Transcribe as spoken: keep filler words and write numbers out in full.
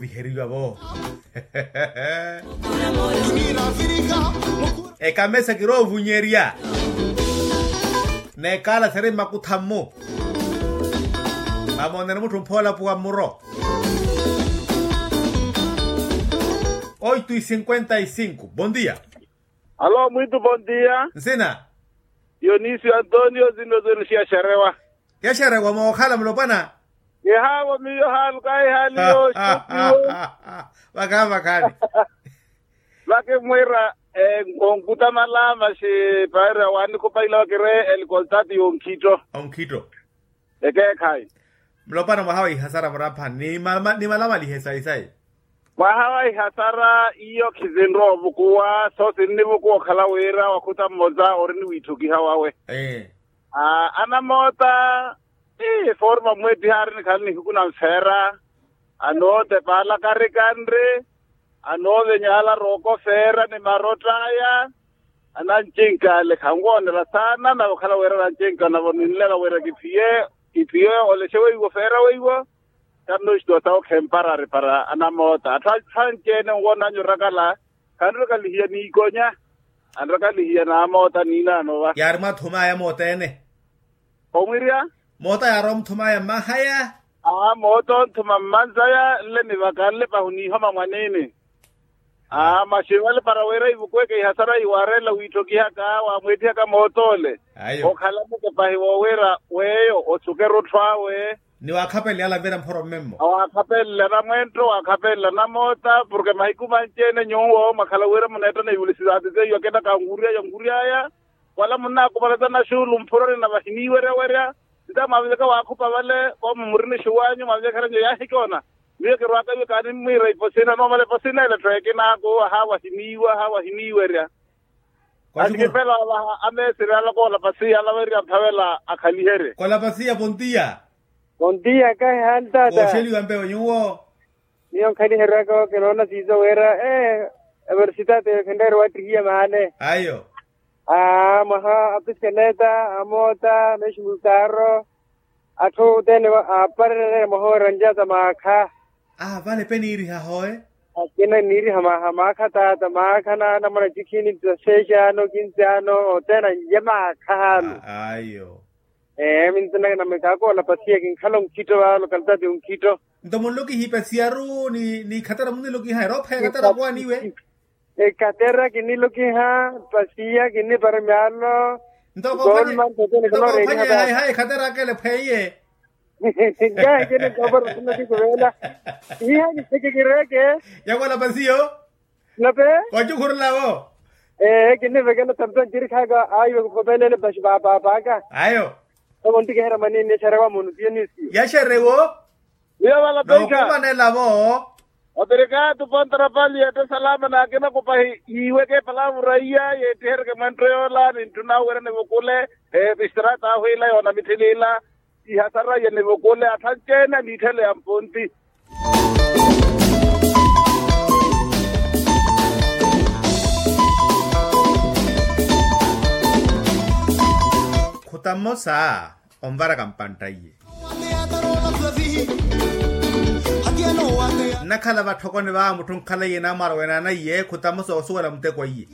Viheriwa-vo. Ekamesa kiroovunyerya. N'ekaala siri mmakutha-mmu. Mamoonene mutthu mphoolapuwa mmuro. Oitu i cinquenta i cinco. Bondia. Alo mwitu bondia. Nsina. Dionisio antonio zino zino siyaxerewa. Yaxerewa mookhala mulopwana. Kihaavo miyo haalu kaayi haali yooxupiwe. Vakhaani vakhaani. Vakimwiira. Onkutamala maxi paira wanikhupa ila vakire elikoltati yonkhitto. Onkhitto. Ekeekhayi. Mulopwana mwaha wa ihasara muraphani ni malamalihe sayi sayi. Mwaha wa ihasara iyo khizinrowa ovukuwa so sinnivukuwa okhala wira wakhuta mmosa ori ni wiitthokiha wawe. Anamoota. Eforma mweettiha ari nikhale nihiku na nfeera. Anootepa ala karikanri. Anoovenyala rooko feera ni marott'aya. Anancinka ale khanwoonela saana nave okhala wira anancinka navo ninleka wira kiphiye. Kiphiye olexe weiwo feera weiwo. Kannoxituwa sawo khemparari para anamoota atthu anci-ene nwoonanyu orakala. Khanrikalihiya n'ikonya. Anrikalihiya n'amoota n'inaano va. Yaari mwaathum'aya moota-ene. Omwirya. Moota yaarowa omuthum'aya mmahaya. Aa moota onthuma mmanzaya nle ni vaka nle pahi oniihoma mwan'ene. Aa maxi vale para wira ivukweke ihasara iwaarela wiitthokihaka waamweettihaka moot'ole. Okhala mukepahi woowira weeyo osuke erutthu awe. Ni waakhapelelana vira mphoro mmemmo. Waakhapelelana mwenttho waakhapelelana moota porke mahiku manci-ene nyuwo mwakhala wira muneetta na iwulisi zaati zeiyo akina kanwurya yanwury'aya. Wala munnaakupalatana xuulu mphuroni na vahiniiwerya werya. Nta mwaveveka waakhupa vale koomo muri ni xuwanyu mwavevekheranyu yaahicoona. Miyo kirwaaka iwe kaanimmwiira iposina noomala iposina ila etthu ekinaaku ahaawahiniiwa ahaawahiniiwerya. Asikipela wavaha ameesiri ala koolapasiya ala werya mphavela akhaliherye. Koolapasiya pontiya. Pontiya kahi haali taata. Kooxeliwa mpewe nyuwo. Miyo nkhaliherwaka kinoona siiso wira ee evorisitaati khenreere wattihiya maale. Ayo. Aa mwaha apiskeleta amoota meximukaaro. Atthu othene aaparererya mwaha oranjata maakha. Aa vale pe niiriha hooye. Akina niiriha maakha taata maakha naana mwana cikhini taxeexano kinsiano othene anlye maakha haalu. Ayo. Ee minsinaka namekaakola pasiya kinkhala onkhitto vale okaltati onkhitto. Nto munlokihipa siyaru ni ikhatera munilokiha eroophaya ekatera okowa niwe. Ekatera kinilokiha pasiya kinipara myalo. Nto koophwanya. Ekatera akele phweiye. Nkahi kininkopara sinakikuvela. Iha kisikikireke. Yakwala pasiyo. Nape. Kocukhurulavo. Ee kinivekela tampe ncirikhaka ayo kukhopelele paxi papaapaka. Ayo. Oko ntikiherya mwanini yaxerewa munu tiyo nisiyo yaxerewo. Miyo vala peixa. Nookumanelavo. Operekaatu pontarapali yeetta salama naakina kupahi yiiweke palavura iya yeettiheryeke mwenttho yoola nintthuna awerya nivukule. Epistrata ahwiila yoonamitthiliila. Ihasara yenivukule atthu anci-ene aniitthele ya mponti. Khuta mmosa onvaraka mpantta iye. Nnakhala vatthokoni va mutthu nkhala iye naamwarowena ana iye khuta mmosa oosuwela muteko iye.